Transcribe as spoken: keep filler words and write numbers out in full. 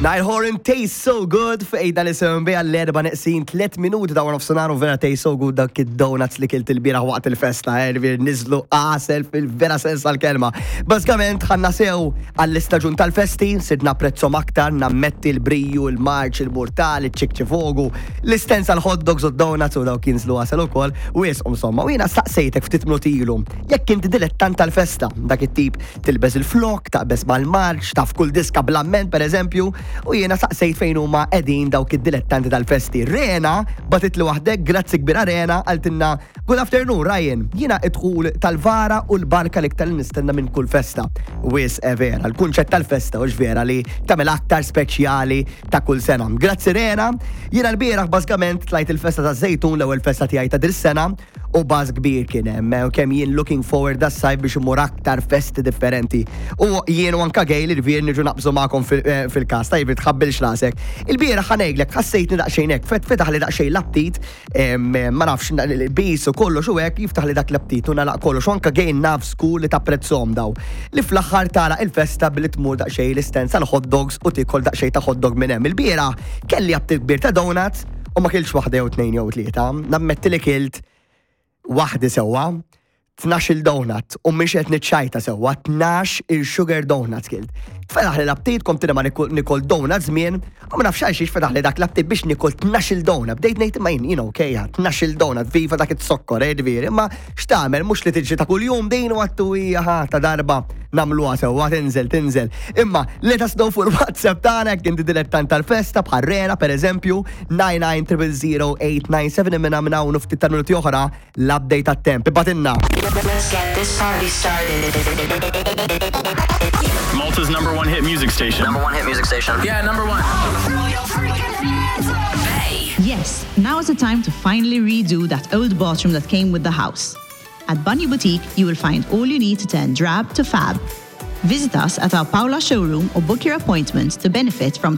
Niall Horan tastes so good fejda li sewen bija l-erba neqsin tliet minuti ta' nofsinhar u vera taste so good dak id-donuts li kilt il-bieraħ waqt il-festa, eh, ġifieri niżlu għasel fil-vera sens tal-kelma. Bażikament ħanna sew għall-istaġun tal-festi, sidna prezzom aktar, nammetti l-briju, il-marċ, il-burtal, il-ċikċifogu, l-istensa l-hot dogs u donuts u dawk jinżlu għasel ukoll u jesqom insomma. U jiena staqsejtek ftit minuti ilu, jekk inti dilettant tal-festa, dak it-tip tilbes il-flok, taqbes mal-marċ, taf kull diska bl-amment per eżempju, u jiena saqsejt fejn huma qegħdin dawk id-dilettanti tal-festi. Rena bagħtitli waħdek, grazzi kbira Rena, qaltilna Good afternoon, Ryan. Jiena id-dħul tal-vara u l-barka l-iktar li nistenna minn kull festa. Wis è vera, l-kunċett tal-festa u vera li tagħmel aktar speċjali ta' kull sena. Grazzi Rena, jiena l-bieraħ bażikament tlajt il-festa ta' Żejtun l-ewwel festa tiegħi ta' dil-sena u buzz kbir kien hemm u kemm jien looking forward das-sajf biex imur aktar festi differenti. U jien u anka gej li l-vir niġu naqbżu magħkom fil- fil-kas, tajb tħabbilx rasek. Il-bieraħ ħa ngħidlek ħassejtni daqsxejn hekk, fet fetaħ li daqsxejn l-aptit, em, ma nafx bis u kollox u hekk jiftaħ li dak l-aptit u nalaq kollox u anka gej naf school li tapprezzhom daw. Li fl-aħħar tara il-festa billi tmur daqsxejn l-istensa l-hot dogs u tikol daqsxejn ta' hot dog minn hemm. Il-bieraħ kelli aptit kbir ta' donuts u ma kiltx waħda jew tnejn jew tlieta. Nammetti li kilt waħdi sewwa, tnax il donut u mhix qed niċċajta sewwa, tnax il-sugar donuts kilt. Fetaħ li l-aptit, kont ma nikol donut żmien, u ma nafx għalxiex fetaħ li dak l-aptit biex nikol tnax il donut. Bdejt ngħid imma jien, jien okej, tnax il donut, viva dak it-sokkor, eh, ġifieri, imma x'tagħmel mhux li tiġi ta' kuljum din u għattu hija ta' darba nagħmluha sewwa tinżel tinżel. Imma let us know fuq il-WhatsApp tagħna jekk inti dilettant tal-festa bħal Rena pereżempju nine nine zero zero eight nine seven minna minn hawn u ftit ta' minuti oħra l-update tat-temp. Ibgħatilna. Let's get this party started. Malta's number one hit music station. Number one hit music station. Yeah, number one. Yes, now is the time to finally redo that old bathroom that came with the house. At Bunny Boutique, you will find all you need to turn drab to fab. Visit us at our Paola showroom or book your appointment to benefit from